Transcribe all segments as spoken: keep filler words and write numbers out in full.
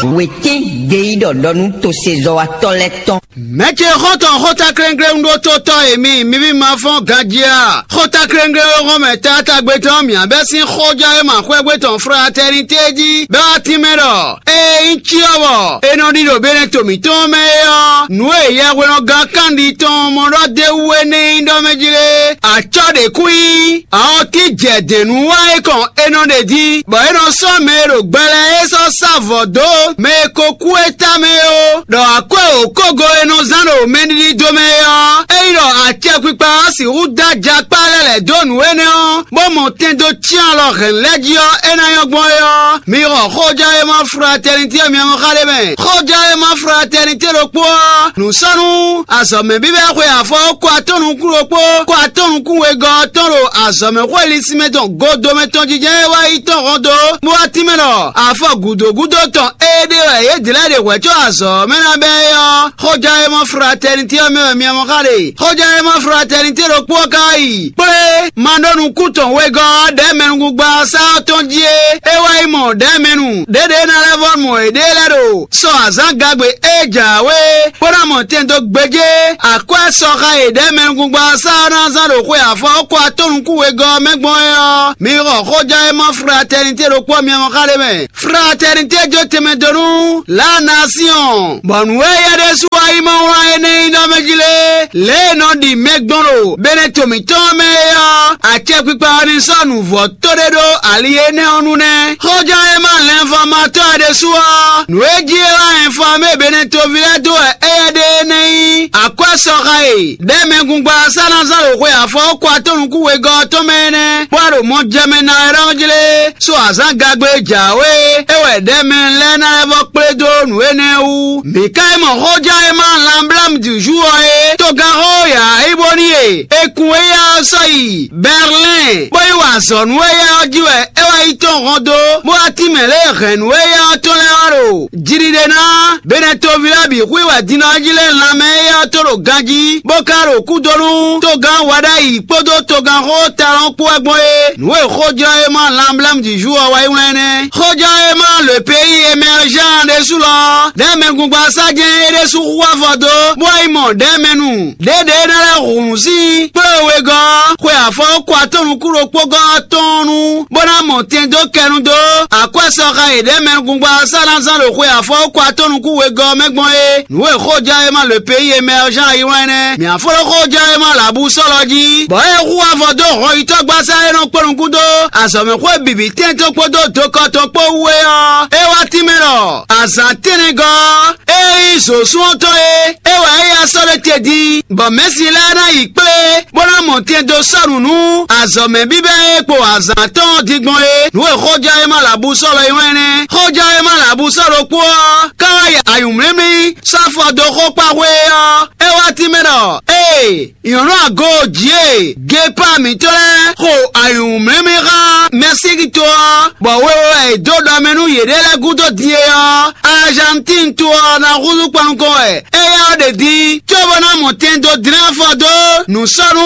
Wětɛ́n gbeyíɖɔ ɖɔ nú tosezɔ́watɔ́ lɛ́ɛ tɔn. Mɛ̌ ce xɔ́ntɔn xótáklɛ́nglɛ́n ɖótótɔ́ e mi, mi ví ma fɔ́n ganjí a? Xótáklɛ́nglɛ́n e hɔn mɛ taatagbe tɔn mǐ bɛ́ sín xójɔ́ e ma xwɛ́gbé tɔn Fratɛnité jí bɛ́ wá tínmɛ ɖɔ: ée nyí cyɔ́vɔ è nɔ ɖi ɖo Beneto mǐtɔn mɛ é ɔ́, nǔ e yɛhwenɔ́gán kanɖi tɔn mɔ ɖɔ d'é wú é nɛ́ nyí ɖɔ mɛ jí lé? Acɔ́ ɖě kú nyí. Awɔtíjɛdɛ̌nnúwa e kɔn è nɔ ɖe jí, bɔ é nɔ sɔ́ mɛ e ɖo gbɛ lɛ́ɛ é sɔ́ sá vɔ̌ dó mɛ e ko kú é tamɛ é ó, ɖɔ akwɛ́ wǒkógo e nɔ zán ɖo mɛɖiɖi domɛ é ɔ́, ényí ɖɔ acɛkpikpa ɔ́ sixú dó ajakpá lɛ́ lɛ̌ dó nǔ énɛ́ ɔ́, bó mɔ tɛn dó cyán alɔ hɛ̌n lɛ́ɛ jí ɔ́, é ná nyɔ́ gbɔn é ɔ́, mi xɔ xójɔ́ e ma Fratɛnití e mi mɔ xá ɖé mɛ. Xójɔ́ e ma Fratɛnití ɖokpó ɔ́, nǔ sɔ́ nú azɔ̌mɛ bíbɛ́ xwe afɔ kó atɔ́ nukún ɖokpó, kó atɔ́ nukún wegɔ́ ɔ́ tɔn ɖo azɔ̌mɛ xwé linsinmɛ tɔn godomɛ tɔn jijɛ e wá yi tɔn hɔn dó, bó wá tínmɛ ɖɔ afɔ gǔdo gúdo tɔn éɖée wɛ yě dlɛ́ ɖe hwɛ̌ có azɔ̌ ɔ́ mɛ ná bɛ́ é ɔ́, xójɔ́ e ma Fratɛnití ɔ́ mɛ wɛ mi mɔ xá ɖe. Xójɔ́ e ma Fratɛnití ɖokpó ɔ́ ka yi kplé ma ɖó nukún tɔn wegɔ́ ɔ́ ɖɛ̌ mɛnukúngban ɔ́ sá ɔ́ tɔn jí é. É wá yi mɔ ɖɛ̌ mɛnu ɖěɖě ná lɛ́ vɔ́ mɔ yěɖée lɛ́ɛ ɖo sɔ azǎn gagbe e jǎwe, bó ná mɔ tɛn dó gbéjé akwɛ́ sɔxa e ɖɛ̌ mɛnukúngban ɔ́ sá ɔ́ ná zán ɖo xwe afɔ kó atɔ́ nukún wegɔ́ ɔ́ mɛ gbɔn é ɔ́, mi xɔ xójɔ́ e ma Fratɛnití ɖokpó ɔ́ mi mɔ xá ɖé mɛ. Fratɛnití jó tɛnmɛ dó nú Lanasiɔn, bɔ nǔ e yɛ ɖésú wá yi mɔ wlán énɛ́ nyí ɖɔ mɛ jí lé, lě e è nɔ ɖi mɛ gbɔn ɖo Beneto mǐtɔn mɛ é ɔ́, acɛkpikpa ɔ́ ní sɔ́ nǔvɔ́ tó ɖé ɖó ali énɛ́ ɔ́ nu nɛ́. Xóján e ma lɛnfɔmatɔ́ ɛ ɖésú ɔ́, nǔ e jí é wá ɛnfamé Beneto ví lɛ́ɛ dó wɛ éyɛ́ ɖe énɛ́ nyí akwɛ́ sɔxa e ɖɛ̌ mɛgungba ɔ́ sá ná zán ɖo xwe afɔ kó atɔ́ nukún wegɔ́ ɔ́ tɔn mɛ énɛ́, bó wá ɖo mɔ jɛ mɛ ná wɛ ɖɔ jlé. So azǎn gagbe e jǎwe é wɛ ɖɛ̌ mɛ lɛ́ɛ ná lɛ́ vɔ kplé dó nǔ énɛ́ wú. Mǐ ka yi mɔ xóján e ma Lanblámu Dǐzú ɔ́ é, togán xó yǎ é bó ní e è kun éyɛ́ ɔ́ sɔ́ yi Bɛrlɛ́n, bó yi wa azɔ̌ nú éyɛ́ ɔ́ jí wɛ é wá yi tɔn hɔn dó, bó wá tínmɛ lě e hɛ̌nnu éyɛ́ ɔ́ tɔn lɛ́ɛ wá ɖo jiɖiɖe ná. Benɛtoví lɛ́ɛ bǐ xwí wɛ din ɔ́ jí lɛ́ lanmɛ éyɛ́ ɔ́ tó ɖo ganjí, bó ka ɖo kúdónú togán Waɖayi kpódó togán xó Talɔn kpó wɛ gbɔn é. Nǔ e xójɔ́ e ma Lanblámu Dǐzú ɔ́ wá yi wlán nɛ́. Xójɔ́ e ma le pays émergent ɖésú lɔ, ɖɛ̌ mɛgungba sá jɛ́n é ɖésú xú afɔ dó, bó wá yi mɔ ɖɛ̌ mɛ nu. Ɖěɖě é ná lɛ́ hun nǔ sín kplé wegɔ́, xwe afɔ kó atɔ́ nukún ɖokpó gɔ́ ɔ́ tɔn nu, bó ná mɔ tɛn dó kɛnu dó akwɛ́ sɔxa e ɖɛ̌ mɛgungba ɔ́ sá ná zán ɖo xwe afɔ kó atɔ́ nukún wegɔ́ ɔ́ mɛ gbɔn é. Nǔ e xóján e ma le pays émergent yi wlán nɛ́. Mǐ afɔlɔ́ xóján e ma lǎbú sɔ́lɔ jí, bɔ é hu avɔ dó hɔnyitɔ́gbasá e nɔ kpɔ́ nukún dó azɔ̌mɛxwé bǐbí tɛ́ntɔn kpódó dokɔtɔn kpó wú é ɔ́, é wá tínmɛ ɖɔ azǎn tɛ́nnɛgɔ́ ɔ́, é nyí zǒsúnɔtɔ́ é, é wɛ é yá sɔ́ ɖé te din, bɔ mɛ̌si lɛ́ɛ ná yi kplé, bó ná mɔ tɛn dó sɔ́ nǔ nú azɔ̌mɛ bíbɛ́ e kpo azǎn tɔn ɔ́ din gbɔn é. Nǔ e xóján e ma lǎbú sɔ́ lɔ é wɛ́n nɛ́. Xóján e ma lǎbú sɔ́ ɖokpó ɔ́, ká wá yi anyǔmlímlí sɔ́ afɔ dó xó kpa xwé é ɔ́, é wá tínmɛ ɖɔ: Ee, nyɔ̌nu ago jǐ e Gepa mǐtɔn lɛ́ɛ xo anyǔmlímlí xá Mɛsíkito ɔ́, bɔ wewe wɛ è dó ɖɔ mɛ nú yěɖée lɛ́ɛ gúdo din é ɔ́, Azantín to ɔ́ ná húzú kpɔ́n nukɔn wɛ éyɛ́ ɔ́ ɖe din, cóbó ná mɔ tɛn dó dlɛ́n afɔ dó nǔ sɔ́ nú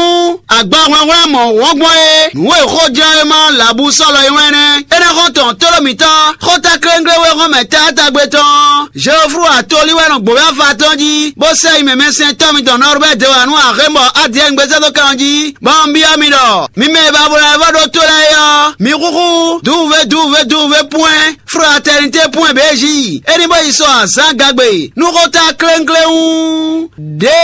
agbahwlɛ́nhwlɛ́n mɔ̌hunkɔtɔn gbɔn é. Nǔ e xóján e ma lǎbú sɔ́ lɔ é wɛ́n nɛ́. É ná xɔ́n tɔn tlóló mǐtɔn, xóta kléŋglé wé hɔn mɛ taátagbe tɔn. Jeoflu atolí wɛ nɔ gbǒ afa tɔn jí, bó sɛ yi mɛmɛsɛntɔ́ mitɔn Nɔrbɛ́ de wǎ nú axémbɔ Adiyɛ́ngbésɛ́dókan ɔ́ jí, bɔ un byɔ́ mi ɖɔ: mi mɛ e ba bló wɛ vɔ ɖó tó lɛ́ɛ é ɔ́, mi xúxú duwuvé duwuvé duwuvé pwɛ́n fraternité pwɛ́n bějí, é ní bó yi sɔ azǎn gagbe nú xóta kléŋkléŋ ɖě